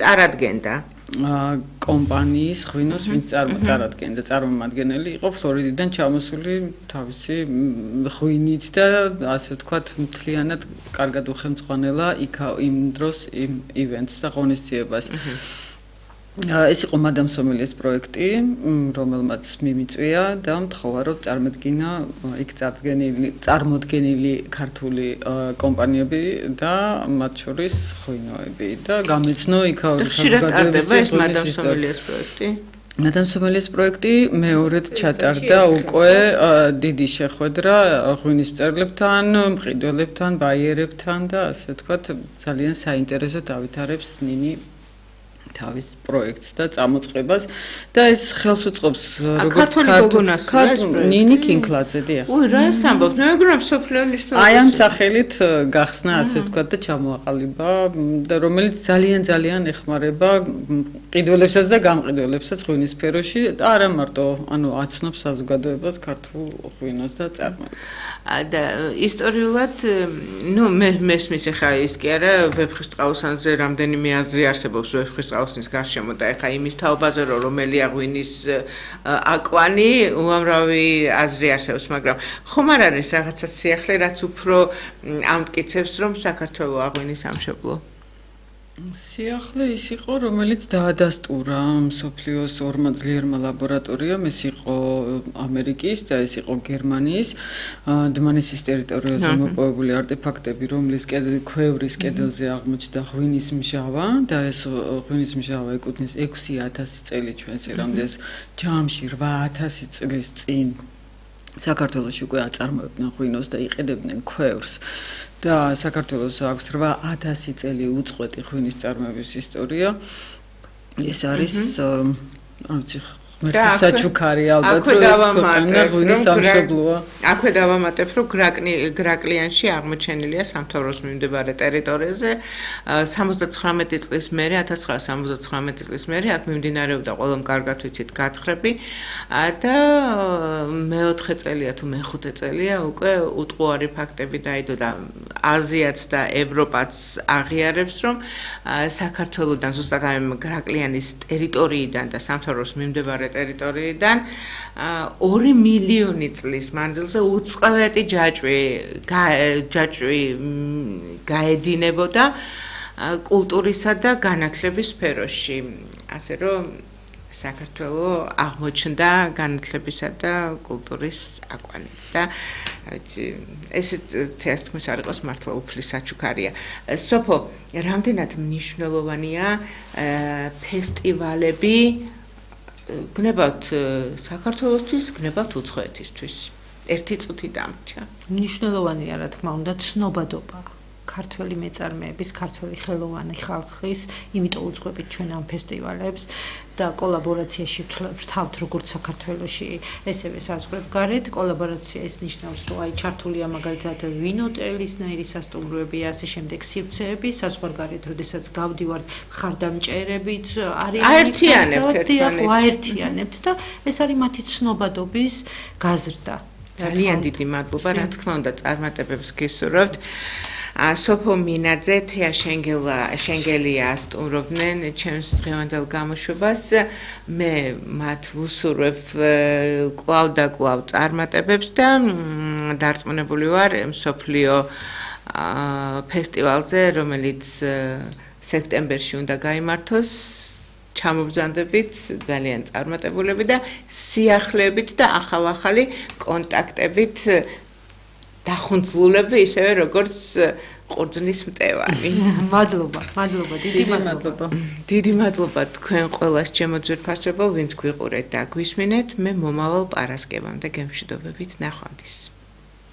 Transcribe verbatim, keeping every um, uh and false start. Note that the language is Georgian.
წარადგენდა? კომპანიის ღვინოს, ვინც წარადგენდა, წარმომადგენელი იყო ფლორიდიდან ჩამოსული თავისი ღვინით და ასე ვთქვათ, მთლიანად კარგად უხელმძღვანელა იქ იმ დროს იმ ივენტს და ღონისძიებას. ეს იყო მადამ სომელიეს პროექტი, რომელმაც მიმიწვია და მთხოვა რომ წარმოდგინა იქ წარდგენილი წარმოდგენილი ქართული კომპანიები და მათ შორის ღვინოები და გამეცნო იქაური საზოგადოებისთვის მადამ სომელიეს პროექტი. მადამ სომელიეს პროექტი მეორედ ჩატარდა უკვე დიდი შეხვედრა ღვინის მწერლებთან, მყიდველებთან, ბაიერებთან და ასე ვთქვათ ძალიან საინტერესო დავითარებს ნინი თავის პროექტს და წამოწყებას და ეს ხელს უწყობს როგორც ქართული ნინი კინკლაძე დიახ. უი რა ამბობთ? მე მეგონა მსოფლიოს აი ამ სახელით გახსნა ასე ვთქვათ და ჩამოაყალიბა და რომელიც ძალიან ძალიან ეხმარება ყიდველებსაც და გამყიდველებსაც ღვინის სფეროში და არა მარტო ანუ აცნობს საზოგადოებას ქართულ ღვინოს და წარმოებას. და ისტორიულად ნუ მე მესმის ახლა ის კი არა ვეფხისტყაოსანზე რამდენიმე აზრი არსებობს ვეფხისტყაოსნის გარშემო და ახლა იმის თაობაზე რომ რომელია ღვინის აკვანი უამრავი აზრი არსებობს მაგრამ ხომ არ არის რაღაცა სიახლე რაც უფრო ამტკიცებს რომ საქართველოს აღვინის სამშობლო სიახლე ის იყო რომელიც დაადასტურა მსოფლიოს ორმა ძლიერმა ლაბორატორიამ ეს იყო ამერიკის და ეს იყო გერმანიის დმანისის ტერიტორიაზე მოპოვებული არტეფაქტები რომლის ქვევრის კედელზე აღმოჩნდა ღვინის მჟავა და ეს ღვინის მჟავა ეკუთვნის ექვსი ათასი წელი ჩვენს ერამდეს ჯამში რვა ათასი წლის წინ საქართველოში უკვე აწარმოებდნენ ღვინოს და იყენებდნენ ქვევრს და საქართველოს აქვს რვა ათასი წელი უწყვეტი ღვინის წარმოების ისტორია ეს არის არც ღმერთის საჩუქარი ალბათ რომ ეს ქვეყანა ღვინის სამშობლოა აქვე დავამატებ რომ გრაკლიანში აღმოჩენილია სამთავროს მიმდებარე ტერიტორიაზე სამოცდაცხრამეტი წლის მერე ათას ცხრაასი სამოცდაცხრამეტი წლის მერე აქ მიმდინარეობდა ყველამ კარგად ვიცით გათხრები და მეოთხე წელია თუ მეხუთე წელია უკვე უტყუარი ფაქტები დაიდო და აზიაც და ევროპაც აღიარებს რომ საქართველოსთან ზუსტად ამ გრაკლიანის ტერიტორიიდან და სამთავროს მიმდებარე ტერიტორიიდან ორი მილიონი წლის მანძილზე უწყლედი ჯაჭვი ჯაჭვი გაედინებოდა კულტურისა და განათლების სფეროში ასე რომ საქართველოს აღმოჩნდა განათლებისა და კულტურის აკვანით და ვიცი ეს თეატრის არ იყოს მართლა უფლის საჩუქარია სოფო რამდენად მნიშვნელოვანია ფესტივალები გნებავთ საქართველოსთვის, გნებავთ უცხოეთისთვის. ერთი წუთი დამრჩა. მნიშვნელოვანია, რა თქმა უნდა, ცნობადობა. ქართველი მეწარმეების, ქართველი ხელოვანი ხალხის, იმიტომ უძღვებით ჩვენ ამ ფესტივალებს და კოლაბორაციაში ვთავთ როგორც საქართველოში, ესევე საზღვრებგარეთ. კოლაბორაცია ეს ნიშნავს, რომ აი ჩართულია მაგალითად ვინოტელისნაირი სასტუმროები, ასე შემდეგ სივრცეები, საზღვარგარეთ, როდესაც გავდივართ ხარდამჭერებით, არის აერთიანებთ ერთმანეთს. აერთიანებთ და ეს არის მათი ცნობადობის გაზრდა. ძალიან დიდი მადლობა, რა თქმა უნდა, წარმატებებს გისურვებთ. სოფო მინაძე, თეა შენგელია სტუმრობდნენ ჩემს დღევანდელ გამოშვებას. მე მათ ვუსურვებ კვლავ და კვლავ წარმატებებს და დარწმუნებული ვარ მსოფლიო ფესტივალზე, რომელიც სექტემბერში უნდა გაიმართოს. ჩამობრძანდებით ძალიან წარმატებულები და სიახლეებით და ახალ-ახალი კონტაქტებით დახუნძლულები ისევე როგორც ყურძნის მტევანი. მადლობა, მადლობა, დიდი მადლობა. დიდი მადლობა თქვენ ყველას ჩემო ძვირფასებო, ვინც გვიყურეთ და გვისმინეთ. მე მომავალ პარასკევამდე გემშვიდობებით ნახვამდის.